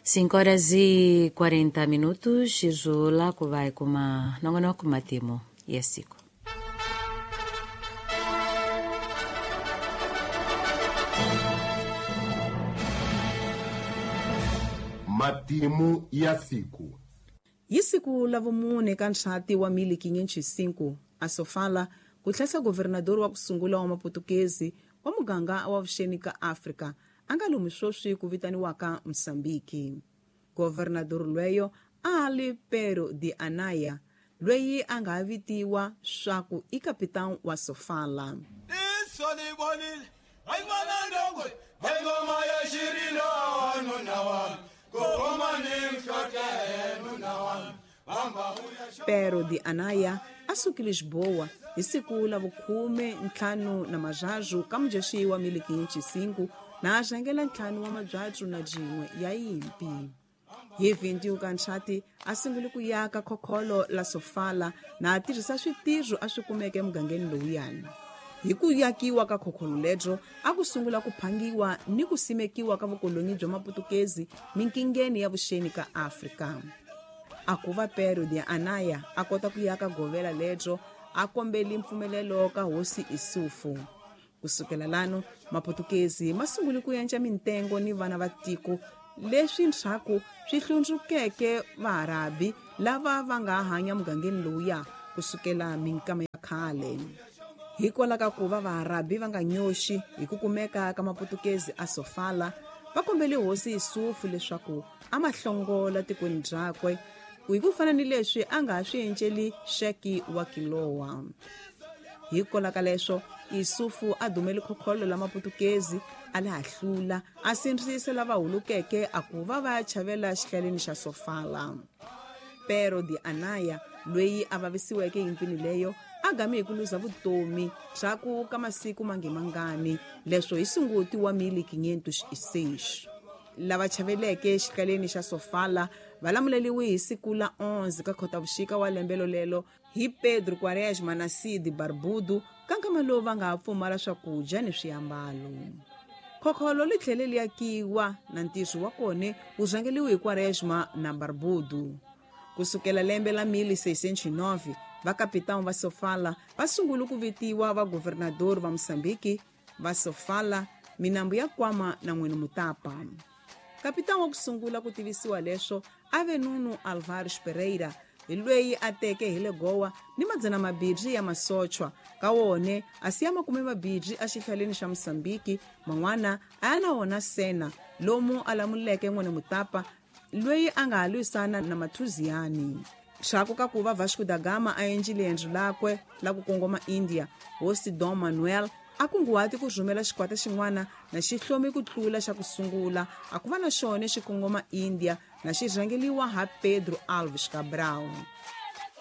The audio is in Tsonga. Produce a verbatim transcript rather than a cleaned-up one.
Cinco horas e quarenta minutos, Izola vai kuma nongonoko matimo ya siku. Matimu ya siku. Hi siku la vumune ka nxati wa mil quinhentos e cinco, a Sofala ku tlhesa governador wa ku sungula wa Maputukezi wa muganga wa vuxeni ka Afrika a nga lomu sweswi ku vitaniwaka Mozambique. Governador lweyo a li Pero de Anaya, lweyi a nga vitiwa swaku i capitão wa Sofala. Pero de Anaya a suki Lisboa hi siku la vukhume ntlhanu na majaju ka mujexi wa mil quinhentos e cinco na a rhangela ntlhanu wa mabyatsu na jin'we ya yimpi. Hi vinte e um ka nxati a sungule ku yaka khokholo la Sofala na a tirhisa switirho a swi kumeke emugangeni lowuyani. Hi ku yakiwa ka khokholo lebyo a ku sungula ku phangiwa ni ku simekiwa ka vukoloni bya Maputukezi minkingeni ya vuxeni ka Afrika. A ku va Pero de Anaya a kota ku yaka govela lebyo a kombeli mpfumelelo ka hosi Isufu. Kusukela lano Maputukezi ma sungule ku yenca mintengo ni vana va tiko leswi ndzhaku swi hlundzukeke Vaarabi lava va nga hanya mugangeni lowuya kusukela minkama ya khale. Hikwalaho ka ku va Vaarabi va nga nyoxi hi ku kumeka ka Maputukezi a Sofala, va kombele hosi Isufu leswaku a ma hlongola tikweni byakwe hi ku fana ni leswi a nga swi enceli Xeki wa Kilowa. Hikwalaho ka leswo Isufu a dumele khokholo la Maputukezi a le hahlula a sindzisa lava hulukeke a ku va va ya chavela xihlaleni xa Sofala. Pero de Anaya lweyi a vavisiweke yimpini leyo a game hi ku luza vutomi ndzhaku ka masiku mangemangani leswo hi sunguti wa mil quinhentos e seis. Lava chaveleke xihlaleni xa Sofala va lamuleliwe hi siku la onze ka Khotavuxika wa lembe lolelo hi Pedro Quaresma na Cid Barbudo ka nkama lowu va nga ha pfumala swakudya ni swiambalo. Khokholo li tlhele li yakiwa na ntirho wa kona wu rhangeliwe hi Quaresma na Barbudo. Kusukela lembe la mil seiscentos e nove, vakapitão va Sofala va sungule ku vitiwa va governador va Mozambique va Sofala, minambu ya Kwama na N'wini Mutapa. Kapitão wa ku sungula ku tivisiwa leswo a ve Nuno Alvares Pereira, hi lweyi a teke hi le Goa ni madzana mabirhi ya masochwa ka wone a siya makume mabirhi exihlaleni xa Mozambique, man'wana a ya na wona Sena lomu a lamuleke N'wini Mutapa lweyi a nga ha lwisana na Mathuziyani. Ndzhaku ka ku va Vasco da Gama a endlile riendzo lakwe la ku kongoma India, hosi Dom Manuel a kunguhati ku rhumela xikwata xin'wana na xi hlomi ku tlula xa ku sungula a ku va na xona xi kongoma India na xi rhangeliwa ha Pedro Alves Cabral.